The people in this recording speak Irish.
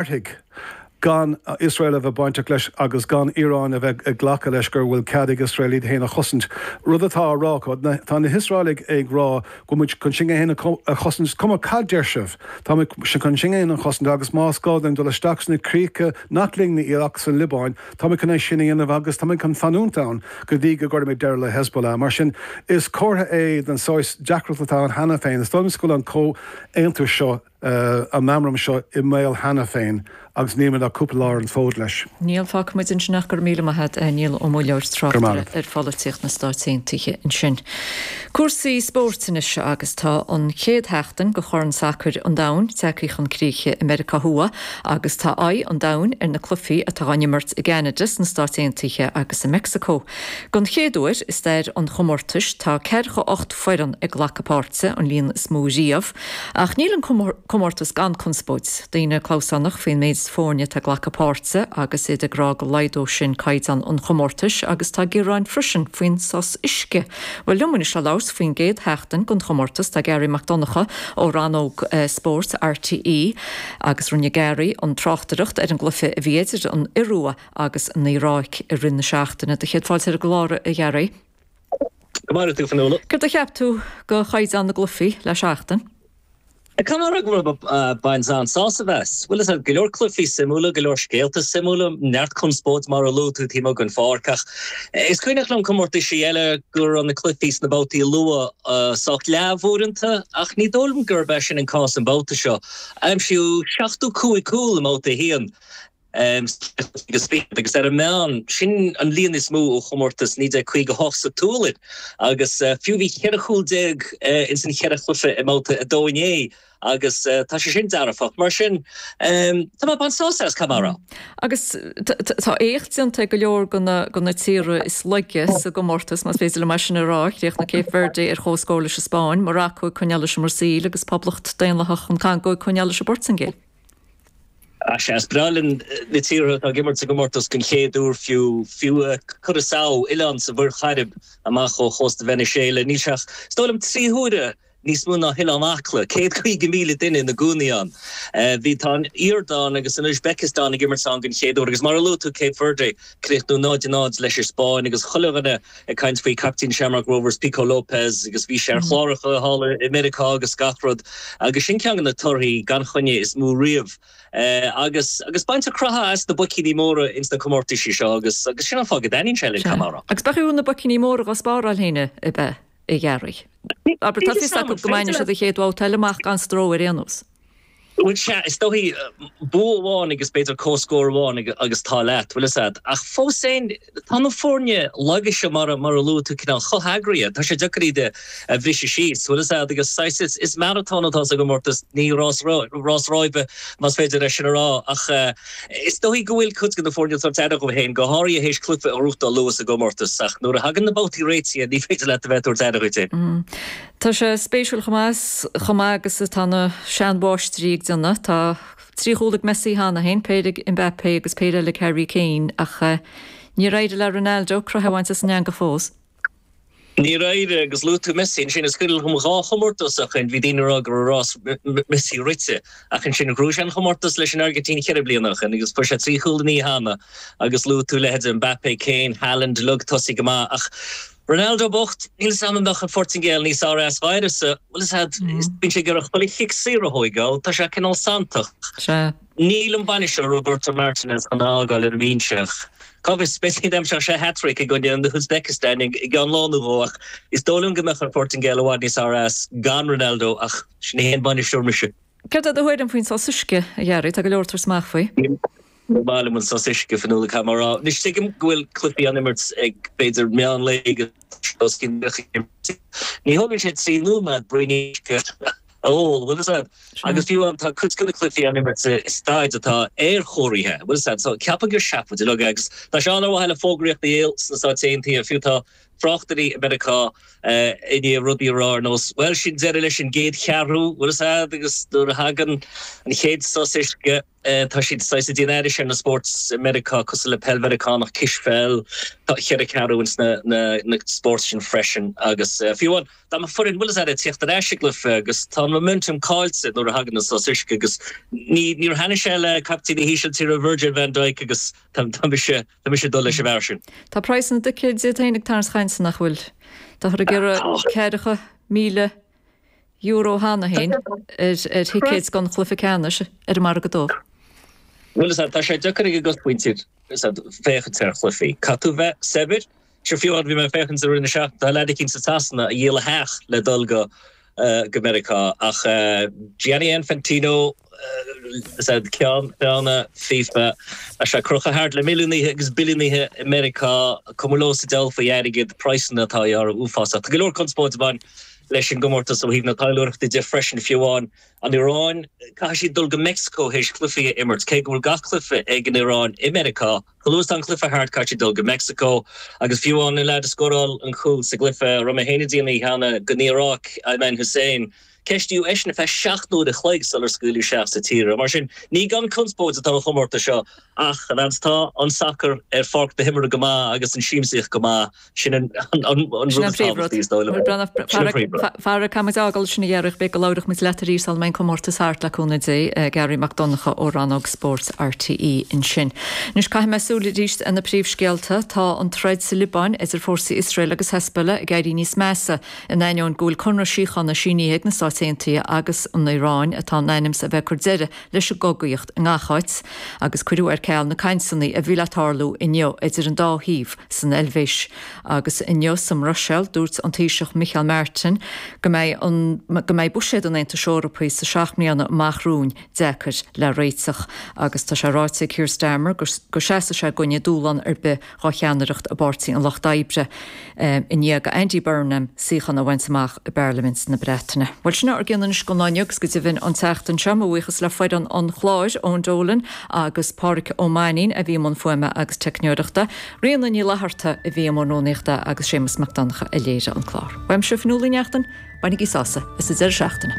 Mairfidh gan Iosrael a bheith bainteach leis agus gan Iaráin a bheith ag glacadh leis go bhfuil cead ag Iosrael iad féin a chosaint. Rud atá á rá acu. Tá na hIosraelaigh ag rá go bhfuil muid chun sinn féin a chosaint, is cuma cad deir sibh, tá muid chun sinn féin a chosaint agus más gá dúinn dul isteach sna críocha nach linne iad ach sa Liobáin, tá muid chun é sin a dhéanamh agus tá muid chun fanúint ann go dtí go gcuirfimid deireadh le Hezbollah. Mar sin, is comhartha é den saghas deacracht atá ann cheana féin. Is dóigh liom go bhfuil an comhaontú seo an meamram seo i mbaol cheana féin agus níl muid ach cúpla lá ar an bhfód leis. Níl, fágfaidh muid ansin ach go raibh míle maith agat, a Niall Ó Muilleoir, tráchtaire ar pholaitíocht na Stáit Aontaithe ansin. Cúrsaí spóirt anois agus tá an chéad sheachtain de Chorn Sacair an Domhain tagtha chun críche i Meiriceá Thuaidh agus tá aghaidh an domhain ar na cluichí atá á n-imirt i gCeanada, sna Stáit Aontaithe agus i Meicsiceo. Don chéad uair i stair an chomórtais tá 48 foireann ag glacadh páirte, an líon is mó riamh. Ach níl an comórtas gan conspóid. Daoine clamhsánach faoin méid foirne atá ag glacadh páirte agus iad ag rá go laghdódh sin caighdeán an chomórtais agus tá gearáin freisin faoin sos uisce. Bhuel liom anois le labhairt faoin gcéad sheachtain den chomórtas tá Garry Mac Donncha ó rannóg spóirt RTÉ agus rinne Garry an tráchtaireacht ar an gcluiche a bhí idir an Iorua agus an Iaráic i rith na seachtaine. Do chéad fáilte ar an gclár a Gharry. Go maire tú, Fionnuala. Céard a cheap tú de chaighdeán na gcluichí le seachtain? Caithfidh mé a rá go raibh ag baint an-sásamh as. Bhuel, is ea, go leor cluichí suimiúla, go leor scéalta suimiúla, neart conspóid mar a luaigh tú taobh amuigh den pháirc ach is cuimhneach liom comórtaisí eile go raibh na cluichí sna babhtaí luath sách leamh uaireanta ach ní dóigh liom gurb é sin an cás an babhta seo. Aimsíodh 75 cúl i mbabhta a haon. Agus ar an meán, sin an líon is mó ó chomórtas 1958 sa tSualainn. Agus fiú bhí 14 chúl ins an cheithre chluiche i mbabhta 2 inné agus tá sé sin dearfach. Mar sin, tá mé ag baint sásamh as, caithfidh mé a rá. Agus tá éacht déanta ag go leor de na tíortha is laige sa gcomórtas, más féidir liom é sin a rá. Chríochnaigh Cape Verde ar comhscór leis an Spáinn, Morocco ag coinneáil leis an mBrasaíl agus Poblacht Daonlathach an Chongó ag coinneáil leis an bPortaingéil. Sea, is breá linn na tíortha atá ag imirt sa gcomórtas den chéad uair fiú, fiú Curaçao, oileán sa Mhuir Chairib amach ó chósta Veiniséala. Níl sé ach, is dóigh liom, 3 huaire níos mó ná hOileán Acla, 150,000 duine ina gcónaí ann. Bhí, tá an Iordáin agus an Úisbéiceastáin ag imirt ann den chéad uair agus mar a luaigh tú, Cape Verde, críochnú 0-0 leis an Spáinn agus chuile dhuine ag caint faoi captaen Shamrock Rovers, Pico Lopes, agus bhí sé ar chláracha thall i Meiriceá agus gach rud agus sin ceann de na torthaí gan choinne is mó riamh. Agus agus baintear croitheadh as na boicíní móra ins na comórtaisí seo agus agus sin an fáth go dtaitníonn sé linn, caithfidh mé a rá. Agus b'fhéidir na boicíní móra dhá spáráil féin ab ea, a Gharry? Abair, tá fios acu go mbainfidh siad an chéad bhabhta eile amach gan stró ar aon nós. Bhuel, sea, is dóichí, bua amháin agus b'fhéidir comhscór amháin agus tá leat, bhfuil fhios a'd. Ach fós féin, tá na foirne laga seo, mar a luaigh tú, cineál chomh heagraithe, tá sé deacair iad a bhriseadh síos, bhfuil fhios a'd, agus saghas, is maratón atá sa gcomórtas, ní rás, rás ráibe, más féidir é sin a rá. Ach is dóichí go bhfuil cuid de na foirne ag tabhairt aire dhóibh féin, go háirithe théis cluiche a ghnóthachtáil luath sa gcomórtas. Ach nuair a thagann na babhtaí réitithe, ní féidir leat a bheith ag tabhairt aire dhuit féin. Tá sé spéisiúil chomh maith, chomh maith agus atá na seanmháistrí ag déanamh. Tá 3 chúl ag Messi cheana féin, péire ag Mbappé agus péire eile ag Harry Kane ach níor éirigh le Ronaldo croitheadh a bhaint as an eangach fós. Níor éirigh agus luaigh tú Messi ansin. Is cuimhin liom dhá chomórtas ó shin, bhí daoine ag rá go raibh rás Messi rite ach ansin ghnóthaigh sé an chomórtas leis an Airgintín cheithre bliana ó shin agus fuair sé 3 chúl an oíche cheana agus luaigh tú leithéidí Mbappé, Kane, Haaland uilig tosaithe go maith ach Ronaldo bocht, níl 'fhios a'm an mbeadh an Phortaingéil níos fearr as uireasa, bhfuil 'fhios a'd, bíonn sé ag iarraidh chuile chic saor a thóigeáil, tá sé cineál santach. Sea. Níl an bainisteoir Roberto Martinez chun é a fhágáil ar an mbinse ach cá bhfios, b'fhéidir go n-aimseodh sé hat-trick i gcoinne an Uzbekistan i gceann lá nó dhó ach is dóigh liom go mbeadh an Phortaingéil i bhfad níos fearr as gan Ronaldo ach ní haon bainisteoir mise. Céard é do thuairim faoin sos uisce, a Gharry? Tá go leor ag tabhairt amach faoi. Ní maith liom an sos uisce, Fionnuala, caithfidh mé a rá. Anois tuigim go bhfuil cluichí á n-imirt ag b'fhéidir meán lae agus os cionn Ní thógann sé 3 nóiméad braoinín uisce a ól, bhfuil fhios a'd? Agus fiú amháin tá cuid de na cluichí á n-imirt i staid atá aerchóirithe, bhfuil fhios a'd? So ceapaim gur seafóid uilig é agus tá sé ann ar mhaithe le fógraíocht a dhíol sna Stáit Aontaithe, fiú tá. Tráchtairí i Meiriceá i ndiaidh rudaí a rá ar nós, 'Bhuel, sin deireadh leis an gcéad cheathrú, bhfuil fhios a'd, agus nuair a thagann an chéad sos uisce, tá siad saghas ag déanamh aithris ar na spóirt i Meiriceá cosúil le peil Mheiriceánach, cispheil, tá cheithre cheathrú ins na na spóirt sin freisin agus fiú amháin dá mbeadh foireann, bhfuil fhios a'd, ag tíocht ar ais i gcluiche agus tá an momentum caillte nuair a thagann an sos uisce agus ní níor thaitnigh sé le captaen na hÍsiltíre Virgil van Dijk agus tá tá mise Tá mise ag dul leis an bhfear sin. Tá praghas na dticéad iad féin ag tarraingt cainte nach bhfuil? Táthar ag iarraidh ceathracha €1,000 cheana féin ar thicéid don chluiche ceannais ar an margadh dubh. Bhuel, tá sé deacair ag an gcosmhuintir féachaint ar chluichí. Caithfidh tú bheith saibhir. Sure, fiú amháin bhí mé ag féachaint i rith na seachtaine, tá leaid eicínt i Sasana a dhíol a theach le dul go go Meiriceá ach Gianni Infantino ceann feadhna FIFA, tá sé crochta thart le milliúnaithe agus billiúnaithe i Meiriceá, cuma leo sa diabhal faoi airgead, praghsanna atá á ghearradh uafásach. Tá go leor conspóid ag baint leis an gcomórtas ó thaobh na taidhleoireachta de freisin fiú amháin an Iaráin, caithfidh siad dul go Meicsiceo théis cluichí a imirt, cé go bhfuil gach cluiche ag an Iaráin i Meiriceá. Chomh luath is atá an cluiche thart caithfidh siad dul go Meicsiceo agus fiú amháin an leaid a scóráil an cúl sa gcluiche a raibh mé féin ag déanamh cheana don Iaráic, Ayman Hussein, ceistíodh eisean ar feadh 7 n-uair a chloig sular scaoileadh isteach sa tír é. Mar sin, ní gan conspóid atá an chomórtas seo ach an fhad is atá an sacar ar pháirc na himeartha go maith agus an siamsaíocht go maith, Sin an rud is tábhachtaí, is dóigh liom. Sin an príomhrud. Fara, caithfidh muid a fhágáil ansin a Ghearaí, b'fhéidir go labhróidh muid leat arís sula mbeidh an comórtas thart, le cúnamh Dé. Gearaí Mac Donncha ó rannóg spóirt RTÉ ansin. Anois caithfidh mé súil arís ar na príomhscéalta. Tá an troid sa Liobáin idir fórsaí Iosrael agus Hezbollah ag éirí níos measa, in ainneoin go bhfuil conradh síochána sínithe ag na Stáit Aontaithe agus an Iaráin atá in ainm is a bheith ag cur deireadh leis an gcogaíocht i ngach áit agus cuireadh ar ceal na cainteanna a bhí le tarlú inniu idir an dá thaobh san Eilvéis. Agus inniu sa mBruiséil, dúirt an Taoiseach Micheál Martin go mbeidh an go mbeidh buiséad an Aontais Eorpaigh sa seacht mbliana amach romhainn deacair le réiteach. Agus tá sé ráite ag Keir Starmer go seasfaidh sé i gcoinne dúshlán ar bith dho cheannaireacht i bPáirtí an Lucht Oibre i ndiaidh do Andy Burnham suíochán a bhaint amach i bParlaimint na Breataine. Bhuel, sin ár gcion anois don lá inniu agus go deimhin an tseachtain seo. Mo bhuíochas le foireann an chláir, Eoin Dolan agus Pádhraic Ó Mainnín a bhí i mbun fuaime agus teicneoireachta, Ríona Ní Fhlatharta a bhí i mbun rúnaíochta agus Séamus Mac Donncha a léirigh an clár. Uaimse, Fionnuala Uí Neachtain, bainigí sásamh as an deireadh seachtaine.